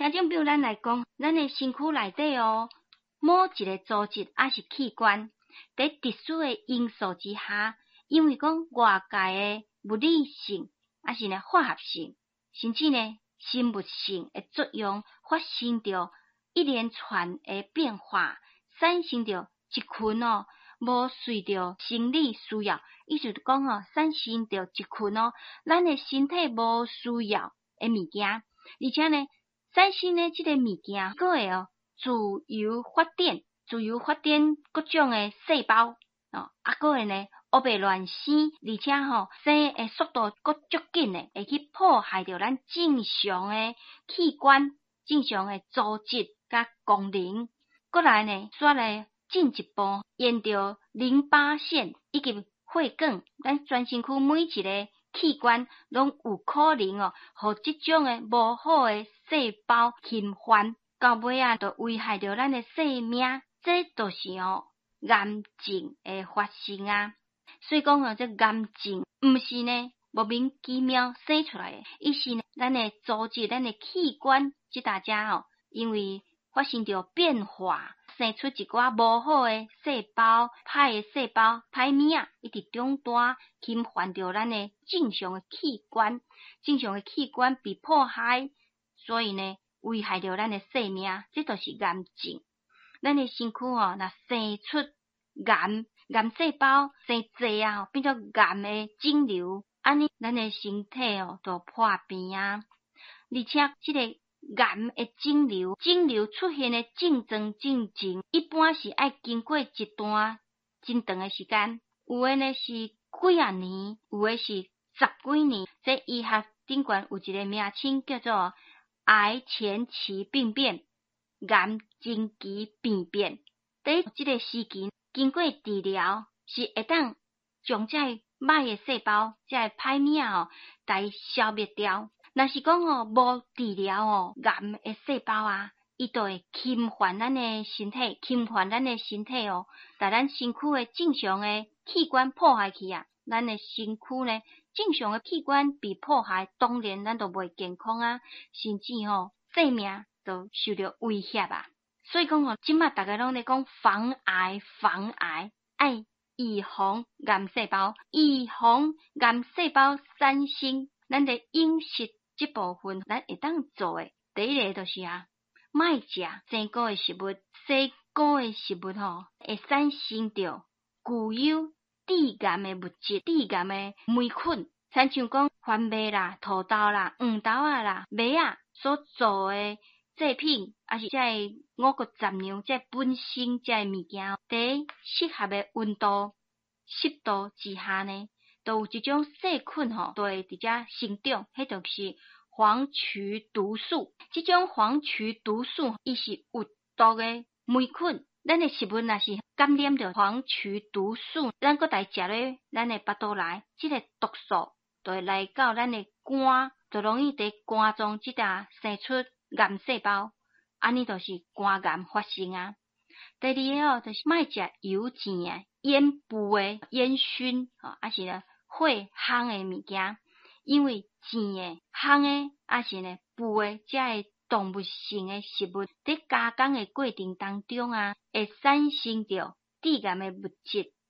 聽眾朋友，咱來講，咱的身軀內底哦，某一个組織抑是器官，佇特殊的因素之下，因為講外界的物理性，抑是呢化學性，甚至呢生物性的作用，發生著一連串的變化，產生著一群哦，無隨著生理需要，意思就講哦，產生著一群哦，咱的身體無需要的物件，而且呢，產生的這个物件，閣會哦自由發展，自由發展各種的細胞，哦，啊，閣會呢，烏白亂生，而且吼生的速度閣足緊的，會去破壞著咱正常的器官、正常的組織佮功能。閣來呢，煞來進一步沿著淋巴腺以及血管，咱全身軀每一个器官攏有可能哦，予這種的無好的細胞侵犯，到尾仔就危害著咱的生命。這就是哦癌症的發生啊。所以講哦，這癌症毋是呢莫名其妙生出來的，伊是呢咱的組織、咱的器官這搭遮吼，因為發生著變化，生出一寡無好的細胞、歹的細胞、歹物仔，一直長大，侵犯著咱的正常的器官，正常的器官被破壞，所以呢，危害著咱的生命，這就是癌症。咱的身軀吼，若生出癌癌細胞生濟啊，變做癌的腫瘤，按呢，咱的身體哦，就破病啊。而且，這個癌的腫瘤，腫瘤出現的症狀進前，一般是愛經過一段真長的時間，有的呢是幾仔年，有的是十幾年。這醫學頂懸有一个名稱叫做癌前期病變、癌前期病變。佇這个時期，經過治療，是會當將這个歹的細胞、這个歹物仔吼，共伊消滅掉。若是講吼無治療吼，癌的細胞啊，伊就會侵犯咱的身體，侵犯咱的身體哦，共咱身軀的正常的器官破壞去啊。咱的身軀呢，正常的器官被破壞，當然咱就袂健康啊，甚至吼生命都受著威脅啊。所以講吼，這馬逐家攏咧講防癌，防癌，愛預防癌細胞，預防癌細胞產生。咱佇飲食這部分，咱會當做的第一个就是啊，莫食生果的食物，生果的食物吼，會產生著具有致癌的物質、致癌的霉菌，親像講番麥啦、土豆啦、黃豆仔啦、麥仔所做的製品，抑是這个五穀雜糧，這本身這个物件，佇適合的溫度、濕度之下呢，就有一種細菌吼，就會佇遮生長，彼就是黃曲毒素。這種黃曲毒素，伊是有毒的霉菌。咱的食物若是感染著黃曲毒素，咱閣來食咧，咱的腹肚內，這个毒素就會來到咱的肝，就容易佇肝臟這搭生出癌細胞，按呢就是肝癌發生啊。第二个哦，就是莫食油煎的、煙霧的、煙燻吼，抑是呢火烘的物件，因為煎的、烘的，抑是呢霧的，這个動物性的食物，佇加工的過程當中啊，會產生著致癌的物質。